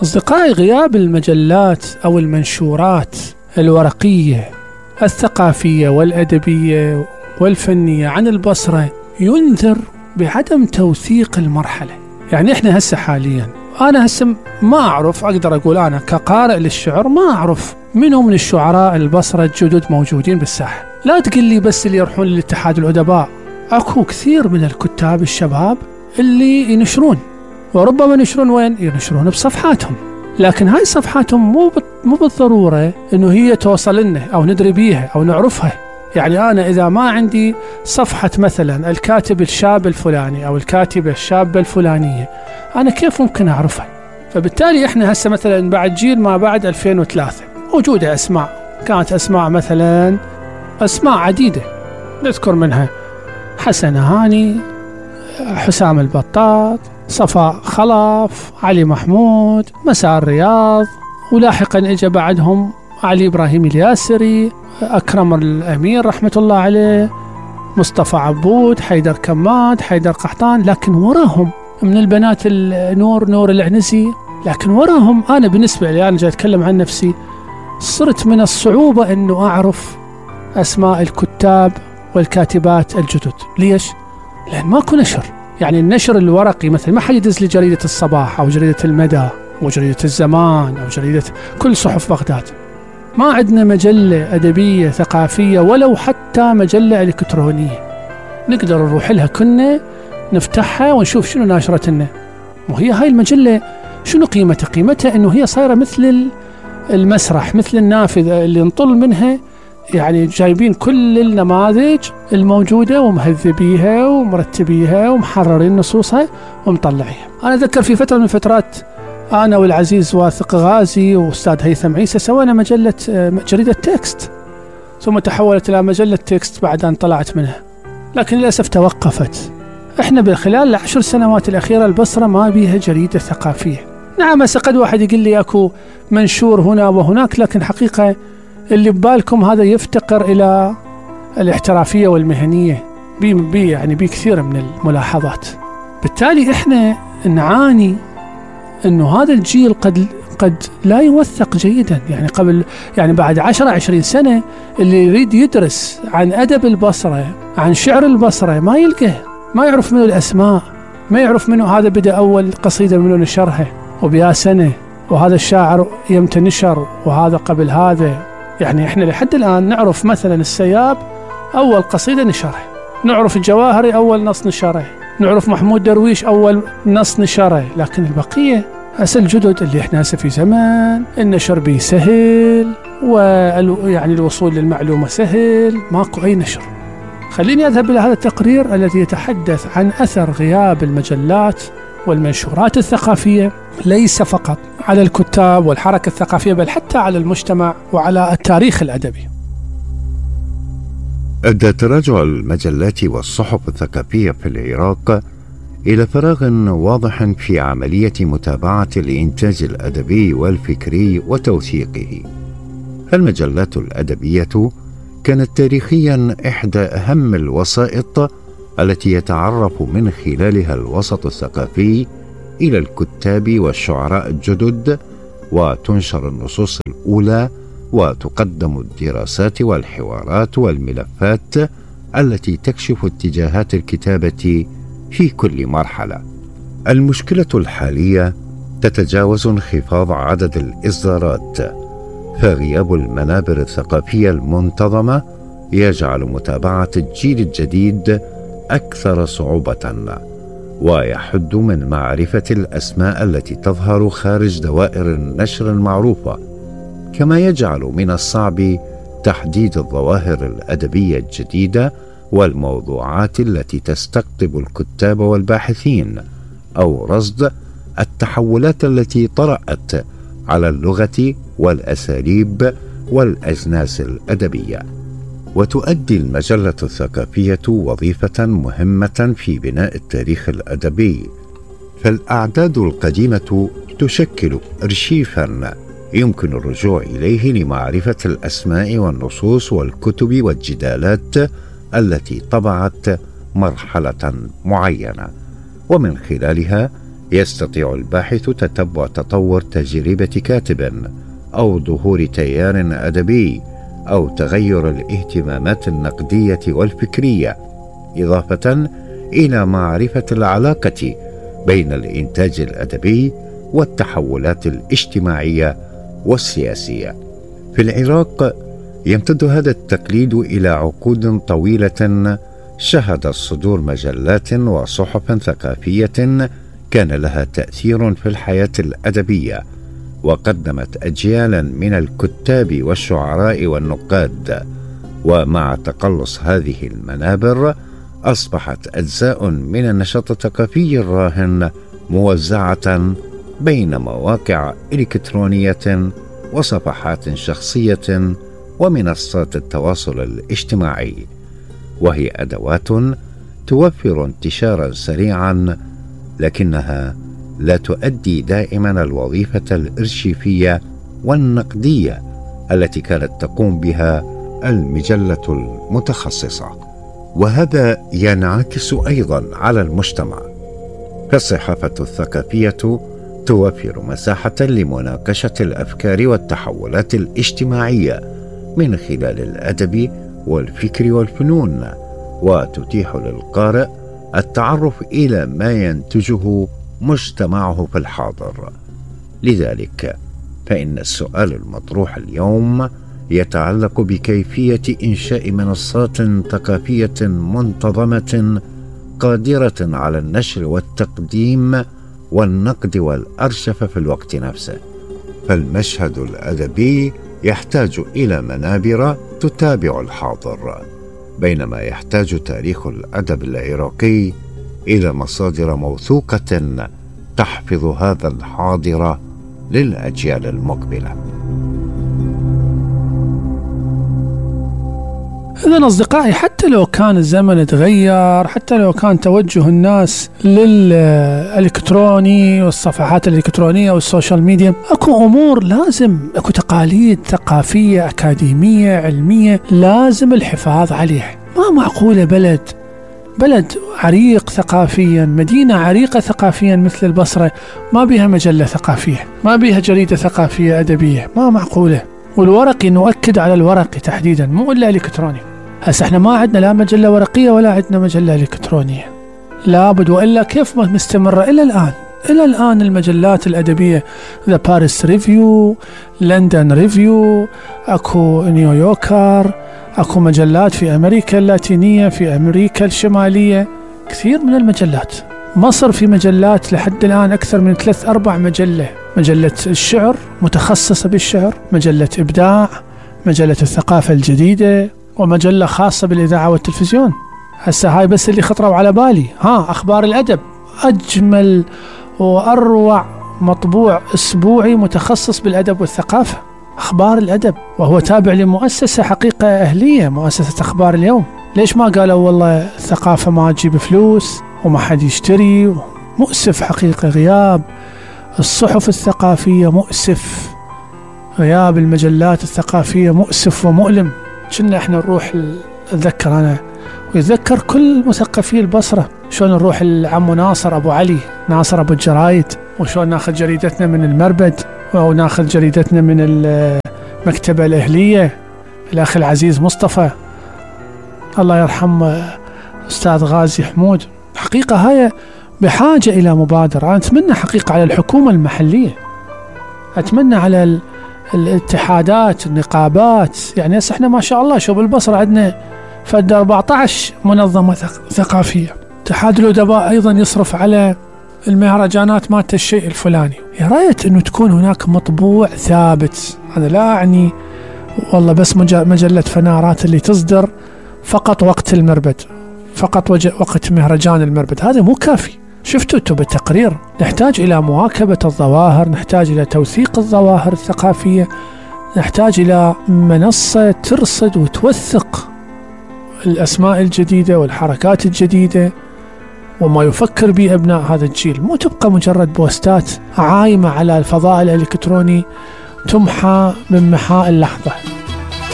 أصدقائي، غياب المجلات أو المنشورات الورقية الثقافية والأدبية والفنية عن البصرة ينذر بعدم توثيق المرحلة. يعني إحنا هسه حاليا، أنا هسه ما أعرف، أقدر أقول أنا كقارئ للشعر ما أعرف منهم من الشعراء البصرة الجدد موجودين بالساحة. لا تقل لي بس اللي يروحون للاتحاد الأدباء، أكو كثير من الكتاب الشباب اللي ينشرون، وربما ينشرون وين؟ ينشرون بصفحاتهم، لكن هاي صفحاتهم مو بالضرورة إنه هي توصل لنا أو ندري بيها أو نعرفها. يعني أنا إذا ما عندي صفحة مثلا الكاتب الشاب الفلاني أو الكاتبة الشابة الفلانية، أنا كيف ممكن أعرفها؟ فبالتالي إحنا هسه مثلا بعد جيل ما بعد 2003 موجودة أسماء، كانت أسماء مثلا أسماء عديدة نذكر منها حسن هاني، حسام البطاط، صفاء خلف، علي محمود، مساء الرياض، ولاحقا اجى بعدهم علي إبراهيم الياسري، أكرم الأمير رحمة الله عليه، مصطفى عبود، حيدر كماد، حيدر قحطان. لكن وراهم من البنات نور العنزي. لكن وراهم أنا بالنسبة لي، أنا جاي أتكلم عن نفسي، صرت من الصعوبة أنه أعرف أسماء الكتاب والكاتبات الجدد. ليش؟ لأن ماكو نشر. يعني النشر الورقي مثلا ما حد يدز لي جريدة الصباح أو جريدة المدى أو جريدة الزمان أو جريدة كل صحف بغداد. ما عندنا مجلة أدبية ثقافية ولو حتى مجلة إلكترونية نقدر نروح لها كنا نفتحها ونشوف شنو ناشرت لنا. وهي هاي المجلة شنو قيمتها؟ قيمتها إنه هي صايرة مثل المسرح، مثل النافذة اللي نطل منها. يعني جايبين كل النماذج الموجودة ومهذبيها ومرتبيها ومحررين نصوصها ومطلعيها. أنا أذكر في فترة من الفترات أنا والعزيز واثق غازي وأستاذ هيثم عيسى سوينا جريدة تكست، ثم تحولت إلى مجلة تكست بعد أن طلعت منها، لكن للأسف توقفت. إحنا خلال 10 سنوات الأخيرة البصرة ما بيها جريدة ثقافية. نعم هسه قد واحد يقول لي أكو منشور هنا وهناك، لكن حقيقة اللي ببالكم هذا يفتقر إلى الاحترافية والمهنية يعني بكثير من الملاحظات. بالتالي إحنا نعاني إنه هذا الجيل قد لا يوثق جيدا. يعني بعد 10-20 سنة اللي يريد يدرس عن أدب البصرة، عن شعر البصرة، ما يلقاه، ما يعرف منه الأسماء، ما يعرف منه هذا بدأ أول قصيدة منه نشرها وبيا سنة، وهذا الشاعر يمتى نشر، وهذا قبل هذا. يعني إحنا لحد الآن نعرف مثلا السياب أول قصيدة نشرها، نعرف الجواهري أول نص نشره، نعرف محمود درويش أول نص نشره، لكن البقية هسه الجدد اللي إحنا هسه في زمان النشر بيه سهل، ويعني الوصول للمعلومة سهل، ماكو أي نشر. خليني أذهب إلى هذا التقرير الذي يتحدث عن أثر غياب المجلات والمنشورات الثقافية ليس فقط على الكتاب والحركة الثقافية، بل حتى على المجتمع وعلى التاريخ الأدبي. أدى تراجع المجلات والصحف الثقافية في العراق إلى فراغ واضح في عملية متابعة الإنتاج الأدبي والفكري وتوثيقه. المجلات الأدبية كانت تاريخيا إحدى أهم الوسائط التي يتعرف من خلالها الوسط الثقافي إلى الكتاب والشعراء الجدد، وتنشر النصوص الأولى، وتقدم الدراسات والحوارات والملفات التي تكشف اتجاهات الكتابة في كل مرحلة. المشكلة الحالية تتجاوز انخفاض عدد الإصدارات، فغياب المنابر الثقافية المنتظمة يجعل متابعة الجيل الجديد أكثر صعوبة، ويحد من معرفة الأسماء التي تظهر خارج دوائر النشر المعروفة، كما يجعل من الصعب تحديد الظواهر الأدبية الجديدة والموضوعات التي تستقطب الكتاب والباحثين، أو رصد التحولات التي طرأت على اللغة والأساليب والأجناس الأدبية. وتؤدي المجلة الثقافية وظيفة مهمة في بناء التاريخ الأدبي، فالأعداد القديمة تشكل أرشيفا يمكن الرجوع إليه لمعرفة الأسماء والنصوص والكتب والجدالات التي طبعت مرحلة معينة، ومن خلالها يستطيع الباحث تتبع تطور تجربة كاتب أو ظهور تيار أدبي أو تغير الاهتمامات النقدية والفكرية، إضافة إلى معرفة العلاقة بين الإنتاج الأدبي والتحولات الاجتماعية والسياسية. في العراق يمتد هذا التقليد إلى عقود طويلة شهدت صدور مجلات وصحف ثقافية كان لها تأثير في الحياة الأدبية، وقدمت أجيالا من الكتاب والشعراء والنقاد. ومع تقلص هذه المنابر أصبحت أجزاء من النشاط الثقافي الراهن موزعة بين مواقع إلكترونية وصفحات شخصية ومنصات التواصل الاجتماعي، وهي أدوات توفر انتشارا سريعا، لكنها لا تؤدي دائما الوظيفة الإرشيفية والنقدية التي كانت تقوم بها المجلة المتخصصة. وهذا ينعكس أيضا على المجتمع، فالصحافة الثقافية توفر مساحة لمناقشة الأفكار والتحولات الاجتماعية من خلال الأدب والفكر والفنون، وتتيح للقارئ التعرف إلى ما ينتجه مجتمعه في الحاضر. لذلك فإن السؤال المطروح اليوم يتعلق بكيفية إنشاء منصات ثقافية منتظمة قادرة على النشر والتقديم والنقد والأرشفة في الوقت نفسه. فالمشهد الأدبي يحتاج إلى منابر تتابع الحاضر، بينما يحتاج تاريخ الأدب العراقي إلى مصادر موثوقة تحفظ هذا الحاضر للأجيال المقبلة. إذن أصدقائي، حتى لو كان الزمن تغير، حتى لو كان توجه الناس للإلكتروني والصفحات الإلكترونية والسوشيال ميديا، أكو أمور لازم، أكو تقاليد ثقافية أكاديمية علمية لازم الحفاظ عليها. ما معقولة بلد عريق ثقافيا، مدينة عريقة ثقافيا مثل البصرة ما بيها مجلة ثقافية، ما بيها جريدة ثقافية أدبية، ما معقولة. والورقي نؤكد على الورقي تحديدا، مو إلا إلكتروني. هسه احنا ما عندنا لا مجلة ورقية ولا عندنا مجلة إلكترونية، لابد، وإلا كيف ما مستمرة إلى الآن المجلات الأدبية، ذا باريس ريفيو، لندن ريفيو، أكو نيويوركر، أكو مجلات في أمريكا اللاتينية، في أمريكا الشمالية، كثير من المجلات. مصر في مجلات لحد الآن أكثر من 3-4 مجلة الشعر متخصصة بالشعر، مجلة إبداع، مجلة الثقافة الجديدة، ومجلة خاصة بالإذاعة والتلفزيون. هسه هاي بس اللي خطروا على بالي. أخبار الأدب، أجمل وأروع مطبوع أسبوعي متخصص بالأدب والثقافة، أخبار الأدب، وهو تابع لمؤسسة حقيقة أهلية، مؤسسة أخبار اليوم. ليش ما قالوا والله الثقافة ما تجيب فلوس وما حد يشتري؟ مؤسف حقيقة غياب الصحف الثقافية، مؤسف غياب المجلات الثقافية، مؤسف ومؤلم. كنا احنا نروح، أتذكر أنا ويتذكر كل مثقفي البصرة شلون نروح العم ناصر أبو علي، ناصر أبو الجرايد، وشلون ناخذ جريدتنا من المربد، أو ناخذ جريدتنا من المكتبة الأهلية، الأخ العزيز مصطفى، الله يرحم أستاذ غازي حمود. حقيقة هاي بحاجة إلى مبادرة. أنا أتمنى حقيقة على الحكومة المحلية، أتمنى على الاتحادات، النقابات. يعني هسه احنا ما شاء الله شوف بالبصرة عندنا فد 14 منظمة ثقافية. اتحاد الأدباء أيضا يصرف على المهرجانات مالت الشيء الفلاني. يا ريت أنه تكون هناك مطبوع ثابت. أنا لا أعني والله بس مجلة فنارات اللي تصدر فقط وقت المربد، فقط وقت مهرجان المربد، هذا مو كافي. شفتوا انتم بالتقرير نحتاج إلى مواكبة الظواهر، نحتاج إلى توثيق الظواهر الثقافية، نحتاج إلى منصة ترصد وتوثق الأسماء الجديدة والحركات الجديدة وما يفكر به أبناء هذا الجيل. مو تبقى مجرد بوستات عايمة على الفضاء الإلكتروني تمحى من محاء اللحظة.